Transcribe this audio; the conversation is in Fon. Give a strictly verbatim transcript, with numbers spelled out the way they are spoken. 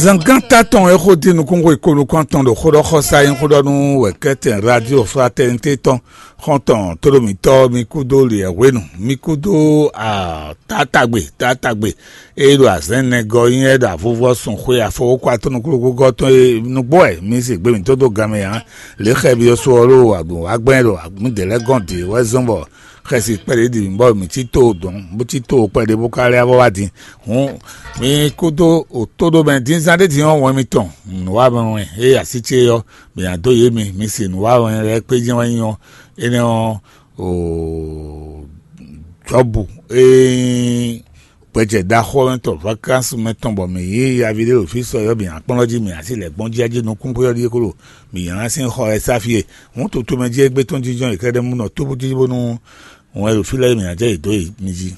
Zangán tɔn e xó dín nukúnxwe ko nukún atɔn ɖo xóɖɔxɔsá nyí xóɖɔ nú wɛ̌kɛ́tɛn Radio Fraternité tɔn xɔ́ntɔn tóɖomítɔ́ mi kúdó liɛ̌hwenu, mi kúdó ah, taátagbe taátagbe e ɖo azɛ̌n nɛgɔ́ nyí wɛ ɖo avuvɔ sun xwe afɔwókwa tɔn nukúnukúgɔ́ tɔn e nǔgbó wɛ mi se gbe mǐtɔn dó gan mɛ ǎ. Lě xɛ byɔ́ só ɔ́ ɖo agbǒnwágbɛ́n ɖo mǐdɛɛ lɛ́ɛ gɔ́n dě wɛ zɔ́n bɔ xɛsi kpɛɖé ɖi bɔ mǐ cí to dɔ̌n bó cí to kpɛɖé bó ka lɛ́ vɔ wá din. Hǔn mi kúdó òtóɖó mɛ dín zán ɖé din ɔ́ wɛn mitɔn nǔwanwɛn e así ce ɔ́, mǐ ná dó yě mi, mi se nǔwanwɛn lɛ́ɛ kpé jɛ́n wɛ nyí ɔ́, énɛ́ ɔ́, o Jɔ́bu e nyí gbɛjɛ ɖaxó ɔ́ mɛ tɔn vakansi mɛ tɔn bɔ mǐ yí yaví ɖé ɖo fí sɔ ɔ́, mǐ ná kplɔ́n jí mǐ ná sí lɛ̌ gbɔn jí jí nukún xwé ɔ́ ɖíe kó ɖo mǐ nylá sín xɔ wɛ sá fí e. Hǔn toto mɛ jí égbé tɔn jínjɔ́n yě kɛ́ɖɛ́ mú nɔ tóbútíbú nú wɛn ɖo fí lɛ́ɛ mǐ ná jɛ yě dó yě mi jí.